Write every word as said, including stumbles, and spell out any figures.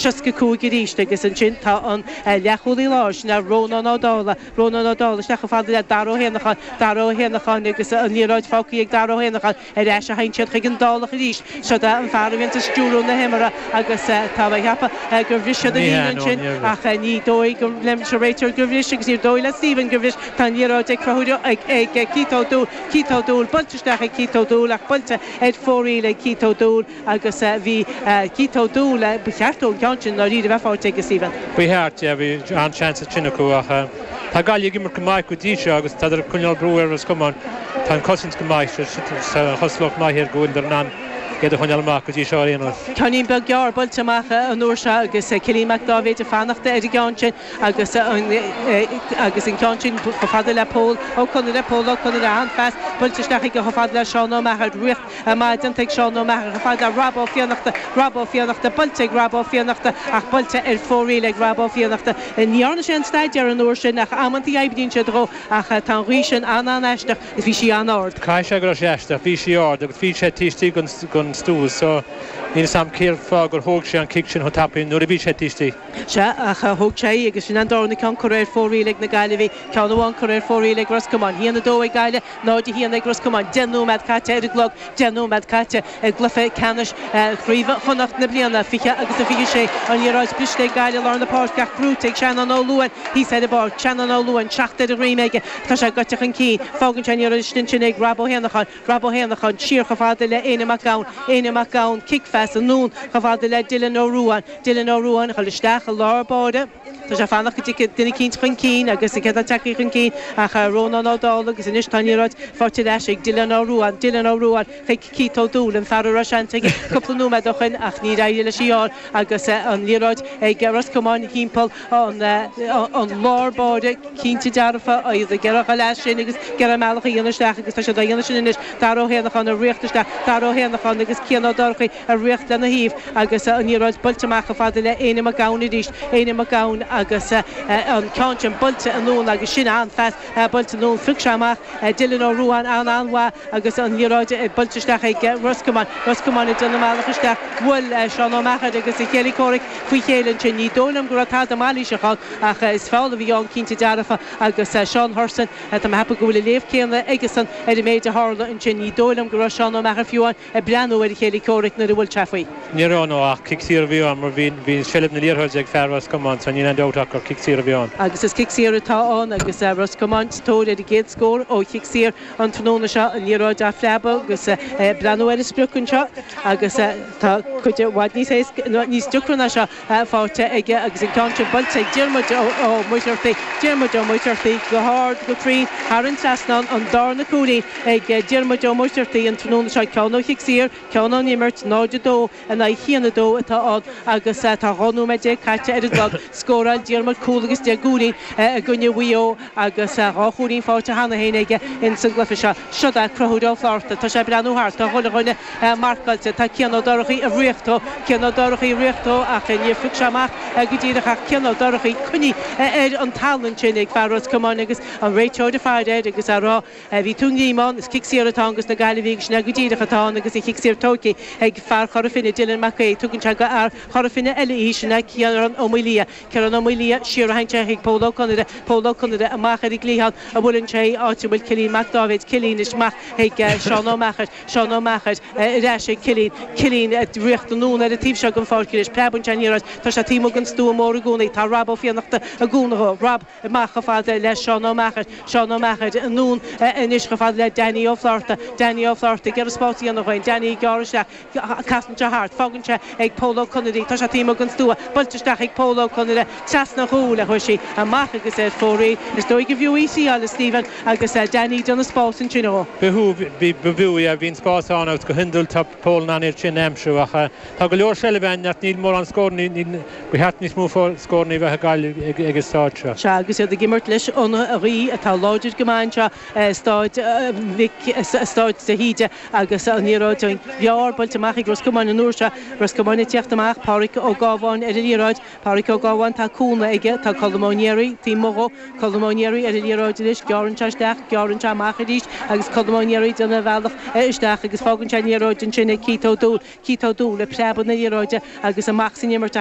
seasca cúig arís agus ansin tá an leathchúlaí láir sin Rónán Ó Dálaigh Rónán Ó Dálaigh isteach chomh fada le Dara Ó hÉanacháin Dara Ó hÉanacháin agus an liathróid fágtha ag Dara Ó hÉanacháin ar ais a théann siad chuig an Dálach arís seo an fear a bhíonn ag stiúradh na himeartha agus tá mé ag ceapadh gur bhris siad an líne ansin ach ní dóigh liom sa réiteoir gur bhris agus ní dóigh le Stephen gur bhris tá an liathróid ag Conchúr ag ag Keith O'Dúl Keith O'Dúl buailte isteach ag Keith O'Dúl ach buailte ar fóraoil ag Keith O'Dúl agus bhí Keith O'Dúl ba cheart an ceann sin ná bheith faighte ag Stephen. Ba cheart bhí an-seans sin acu ach Tá Gaillimh ag imirt go maith go dtí seo agus tá coinneáil brú ar Ros Comáin Tá an chosaint go maith chosloch maithir go bhfuil an iad a choinneáil amach go dtí seo aon. Ceainnín beag gearr buailte amach an uair seo agus Cillian Mac Dáibhéid ag fanacht ar an gceann sin agus agus an ceann sin chomh fada le Pól Ó Conaire Pól Ó Conaire an-phas buailte isteach ag chomh fada le Seán Ó Meachair rith maith ag Seán Ó Meachair chomh fada le Rob Ó Fiannachta Rob Ó Fiannachta buailte ag Rob Ó Fiannachta ach buailte ar fóraoil ag Rob Ó Fiannachta. Ní dhearna sé an staidéar an uair sin ach amanta oibríonn sé dó ach tá an ghaoth sin an-an-aisteach is bhí sí an-ard. Caithfidh sé go raibh sé aisteach, bhí sí ard agus bhí sé taobh istigh den stua so níl a fhios agam cén fáth gur thóg sé an cic sin chomh tapaidh nuair a bhí sé taobh istigh. Se ach thóg sé agus sin an darna ceann curtha ar fóraoil ag na Gaillimhigh ceann amháin curtha ar fóraoil ag Ros Comáin. Haon a dó ag Gaillimh náid a haon ag Ros Comáin. Deich nóiméad caite ar an gclog, deich nóiméad caite ag gcluiche ceannais Chraobh Chonnacht na bliana fiche agus a fiche sé an liathróid briste ag Gaillimh lár na páirce ach brúite ag Seanán Ó Luain thíos ar an bpáirc Seanán Ó Luain seacht ar a dhroim aige tá sé gaite chun cinn fágann sé an sin sin ag Rob Ó hÉanacháin Rob Ó hÉanacháin siar chomh fada le Éanna Mac Gabhann Éanna Mac Gabhann cic-phas anonn chomh fada le Dylan Ó Ruáin Dylan Ó Ruáin chun isteach i lár báire Tá sé fanacht go dtig duine eicínt chun cinn agus cé atá tagtha chun cinn ach Rónán Ó Dálaigh agus anois tá an liathróid faighte ar ais ag Dylan Ó Ruáin Dylan Ó Ruáin chuig Keith O'Dúl an fear a raibh seans aige cúpla nóiméad ó shin ach níor éirigh leis í fháil agus an liathróid ag Ros Comáin timpeall an an lár báire cinnte dearfa iad ag iarraidh leis sin agus gearra meallach a dhéanamh isteach agus tá siad á dhéanamh sin anois Dara Ó hÉanacháin ag rith isteach Dara Ó hÉanacháin agus Cian Ó Dorchaí ag rith lena thaobh agus an liathróid buailte amach chomh fada le Éanna Mac Gabhann arís Éanna Mac Gabhann agus an ceann sin buailte anonn agus sin an-phas buailte anonn phioc sé amach Dylan Ó Ruáin an an-mhaith agus an liathróid buailte isteach ag Ros Comáin Ros Comáin ag déanamh meallach isteach bhuail Seán Ó Meachair agus a chéile comhraic faoi chéile ansin ní dóigh liom go raibh tada mailíseach ann ach is feall a bhí ann cinnte dearfa agus Seán Hurson tá mé ag ceapadh go bhfuil a léamh céanna aigesan ar an méid a tharla ansin ní dóigh liom go raibh Seán Ó Meachair fiú ag breathnú ar a chéile comhraic nuair a bhuail sé faoi. Ní raibh nó ach cic saor a bhí ann mar bhí bhí seilbh na liathróide ag fear Ros Comáin so níl aon dabht ach gur cic saor a bhí ann. Agus is cic saor atá ann agus Ros Comáin tóir ar an gcéad scór ó chic saor an tráthnóna seo an liathróid á phreabadh agus breathnú ar an sprioc anseo agus tá cuid i bhfad níos níos deacra ná seo faighte aige agus an ceann sin buailte ag Diarmuid Ó Muircheartaigh Diarmuid Ó Muircheartaigh go hard go cruinn thar an trasnán an darna cúilín ag Diarmuid Ó Muircheartaigh an tráthnóna seo ceann ó chic saor ceann ón imirt náid a dó in aghaidh haon a dó atá ann agus tá dhá nóiméad déag caite ar an gclog scóráil Diarmuid cúl agus deich gcúilín i gcoinne Mhaigh Eo agus dhá chúilín faighte cheana féin aige in san gcluiche seo seo é Conchúr Ó Flatharta tá sé breathnú thart tá chuile dhuine marcáilte tá Cian Ó Dorchaí ag rith dó Cian Ó Dorchaí ag rith dó ach níor phioc sé amach go díreach ach Cian Ó Dorchaí coinnithe ar an talamh sin ag fear Ros Comáin agus an réiteoir ag faire air agus á rá bhí tú ngrímán is cic saor atá agus na Gaillimhigh sin go díreach atá agus an cic saor tógtha ag fear Chora Finne Dylan Mac tugann sé go fhear Chora Finne eile í sin Ciarán Ó Maoilia Ciarán Ó Maoilia siar a théann chuig Pól Ó Conaire Pól Ó Conaire amach ar an gcliathán a bhfuileann sé áit a bhfuil Cillian Mac Dáibhéid Cillian is amach ag Seán Ó Meachair Seán Ó Meachair ar ais ag Cillian Cillian rith anonn ar an taobh seo den pháirc is preabann sé ní tá sé taobh amuigh den stua mór i gcónaí tá Rob Ó Fiannachta ag cúnamh dó Rob amach chomh fada le Seán Ó Meachair Seán Ó Meachair anonn anois chomh fada le Danny Ó Flatharta Danny Ó Flatharta ag iarraidh spás a dhéanamh dó Danny gearr isteach casann sé thart fágann sé ag Pól Ó Conaire tá sé taobh amuigh den stua buailte isteach ag Pól Ó Conaire trasna chúl a chuir sí amach agus ar fóraoil is dóigh go bhfiú í le Stephen agus Danny ag déanamh spás ansin ó. B'fhiú b'fhiú é bhíonn spás ann agus go hiondúil tá Pól in ann sin a aimsiú ach tá go leor seilbh nach níl mórán scór ba cheart níos mó scóranna bheith ag Gaillimh ag an staid seo. Se agus iad ag imirt leis an ghaoth atá láidir go maith seo staid staid de hÍde agus an liathróid an ghearr buailte amach ag Ros Comáin an uair seo Ros Comáin ag teacht amach Pádraig Ó Gábháin ar an liathróid Pádraig Ó Gábháin tá cúnamh aige tá Colm Ó Néaraí taobh amuigh dhó Colm Ó Néaraí ar an liathróid anois gearrann sé isteach gearrann sé amach arís agus Colm Ó Néaraí déanamh bealach isteach agus fágann sé an liathróid ansin ag Keith O'Dúl Keith O'Dúl le preabadh na liathróide agus amach san imirt